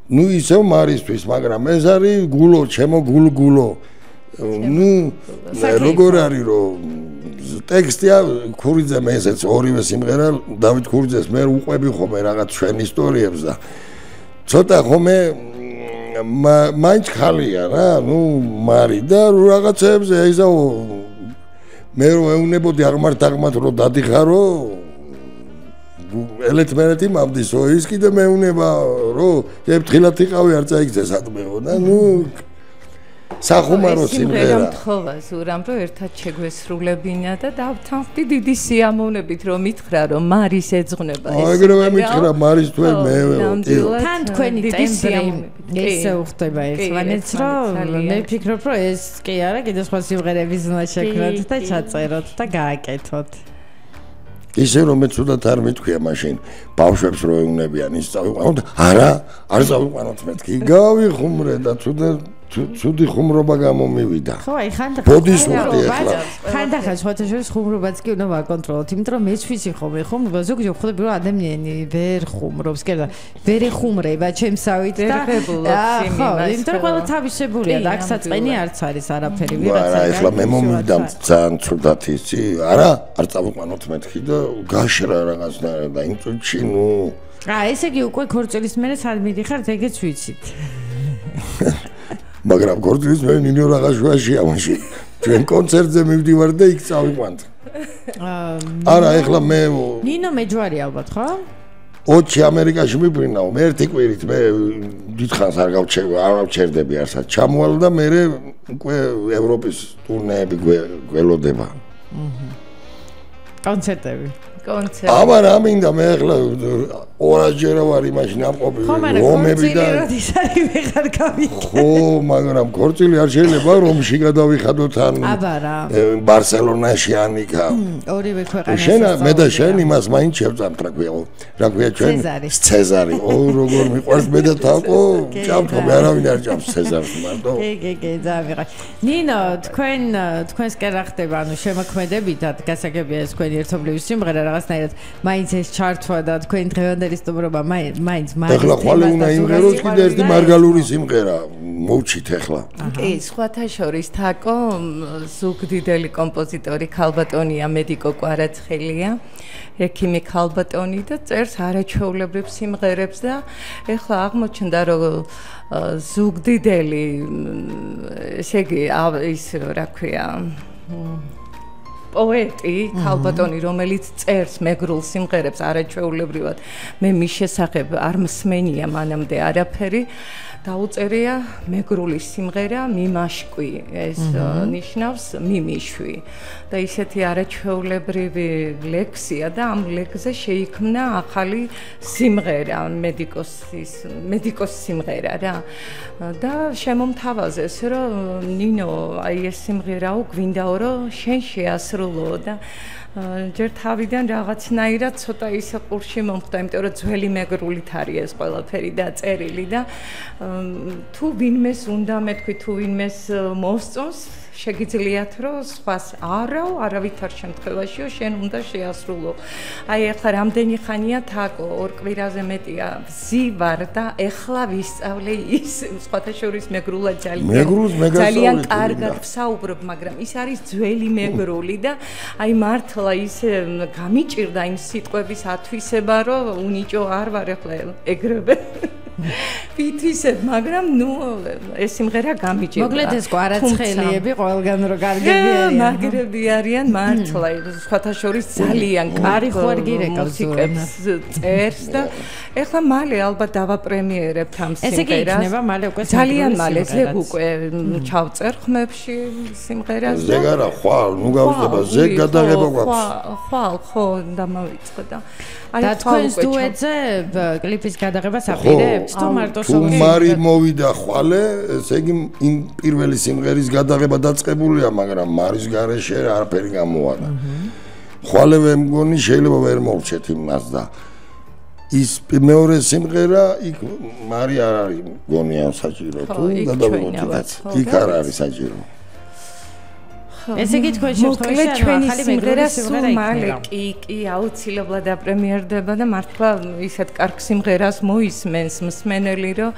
ნუ ისევ მარისთვის, მაგრამ ეს არის გულო, ჩემო გულგულო. ნუ როგორ არის რომ ტექსტია ქურიძე მესეც ორივე სიმღერა დავით ქურიძეს მე უყვები ხომე რაღაც ჩვენ ისტორიებს და ცოტა ხომე მაინც ხალია რა ნუ მარი და რაღაცებზე ისა მე რომ ეუნებოდი აღმართ რომ დადიხარო ელეთმერეთი მამდისო ის კიდე მეუნება რომ ეფთხილად იყავი არ წაიგძე სადმეო და ნუ სახუმარო სიმღერა მთხოვა ზურამ რომ ერთად შეგვესრულებინა და დავთანხმდი დიდი სიამოვნებით რომ მითხრა რომ მარის ეძღვნება ეს ეგრევე მითხრა მარის თუ მე თან თქვენი ტემპრი ესე უხდება ერთმანეთს რომ მე ვფიქრობ რომ ეს კი არა კიდე სხვა სიმღერების უნდა შექმნათ და ჩაწეროთ და გააკეთოთ ისე რომ მე ცუდად არ მithქვია მაშინ ბავშვებს რო ეუნებიან ის წავიყვანოთ არა არ წავიყვანოთ მეთქი გავიხუმრე და ცუდი ხუმრობა გამომივიდა ხო აი ხანდახან ბოდის უხდი ახლა ხანდახან შოთაშორის ხუმრობაც კი უნდა ვაკონტროლოთ იმიტომ რომ მეც ვიცი ხოლმე ხუმრობა ზოგჯერ ხვდები რომ ადამიანი ვერ ხუმრობს კი და ვერ ეხუმრება ჩემსავით და ხო იმიტომ რომ ყველა თავისებულია და აქ საწყენი არც არის არაფერი ვიღაცა არა ახლა მე მომივიდა ძალიან ცუდად იცი არა არ წავიყვანოთ მეთქი და გაშრა რაღაცნაირად და იმ წუთში ნუ ესე იგი უკვე ქორწილის მერე სად მიდიხართ ეგეც ვიცით მაგრამ ქორწილის მე ნინო რაღაცაშია მაშინ ჩვენ კონცერტზე მივდივარ და იქ წავიყვანთ არა ეხლა მე ნინო მეჯვარი ალბათ ხო ოჩი ამერიკაში მიფრინაო მე ერთი კვირით მე დიდხანს არ გავჩერდები არსად ჩამოვალ და მე უკვე ევროპის ტურნეები გველოდება კონცერტები აბა რა მინდა მე ახლა 200 ჯერ ვარ იმაში ნამყოფი რომები და ხო მაგრამ ქორწილი არ შეიძლება რომში გადავიხადოთ ან ბარსელონაში ან იქა ორივე ქვეყანაში შენ მე და შენ იმას მაინც შევწამთ რა ქვია ჩვენ ცეზარი როგორ მიყვარს მე და თაკო ჭამთო მე არავინ არ ჭამს ცეზარს მარტო კი ძალიან ნინო თქვენს კი რა ხდება ანუ შემოქმედებითად გასაგებია ეს თქვენი ერთობლივი სიმღერა რაღაცნაირად მაინც ეს ჩართვა და თქვენი დღევანდელი სტუმრობა მაინც ეხლა ხვალე უნდა იმღეროს კიდე ერთი მარგალური სიმღერა მოვჩით ეხლა კი სხვათა შორის თაკო ზუგდიდელი კომპოზიტორი ქალბატონია მედიკო კვარაცხელია ექიმი ქალბატონი და წერს არაჩვეულებრივ სიმღერებს და ეხლა აღმოჩნდა რომ ზუგდიდელი ესე იგი ის რა ქვია პოეტი ქალბატონი რომელიც წერს მეგრულ სიმღერებს არაჩვეულებრივად მე მის შესახებ არ მსმენია მანამდე არაფერი დაუწერია მეგრული სიმღერა მიმაშკვი ეს ნიშნავს მიმიშვი და ისეთი არაჩვეულებრივი ლექსია და ამ ლექსზე შეიქმნა ახალი სიმღერა მედიკოს სიმღერა რა და შემომთავაზეს რომ ნინო აი ეს სიმღერაო გვინდაო რომ შენ შეასრულო და ჯერ თავიდან რაღაცნაირად ცოტა ისე ყურში მომხდა, იმიტომ რომ ძველი მეგრულით არის ეს ყველაფერი დაწერილი და თუ ვინმეს უნდა მეთქვი, თუ ვინმეს მოსწონს, შეგიძლიათ რომ სხვას არავითარ შემთხვევაშიო შენ უნდა შეასრულო. აი ახლა რამდენი ხანია თაკო, 2 კვირაზე მეტია ვზივარ და ეხლა ვისწავლე ის სხვათა შორის მეგრულად ძალიან კარგად ვსაუბრობ, მაგრამ ის არის ძველი მეგრული და აი მართლა ის გამიჭირდა იმ სიტყვების ათვისება, რომ უნიჭო არ ვარ ახლა ეგრევე. ვითვისებ, მაგრამ ნუ ეს სიმღერა გამიჭირდა. მოკლედ ეს კვარაცხელიები ყველგან რო კარგები არიან. მაგრები არიან მართლა, სხვათა შორის ძალიან კარი ხوارგი რეკავს წერს და ეხლა მალე ალბათ დავაპრემიერებთ ამ სიმღერას. ესე კი იქნება მალე უკვე ძალიან მალე ზეგ უკვე ჩავწერ ხმებში სიმღერას. ზეგ არა, ხვალ, ნუ გავხდება, ზეგ გადაღება გვაქვს. ხვალ, ხო, დამავიწყო და და თქვენს დუეტზე კლიპის გადაღებას აპირებთ თუ მარტო სოლო მარი მოვიდა ხვალე ესე იგი იმ პირველი სიმღერის გადაღება დაწყებულია მაგრამ მარის გარეშე არაფერი გამოადა ხვალე მე მგონი შეიძლება ვერ მოვჩეთ იმას და ის მეორე სიმღერა იქ მარი არ არის მგონია საჭირო თუ გადავიღოთ იქ არ არის საჭირო ესე იგი თქვენ შემთხვევაში ახალი სიმღერა სულ მალე კი აუცილებლად აპრემიერდება და მართლა ისეთ კარგ სიმღერას მოისმენს მსმენელი რომ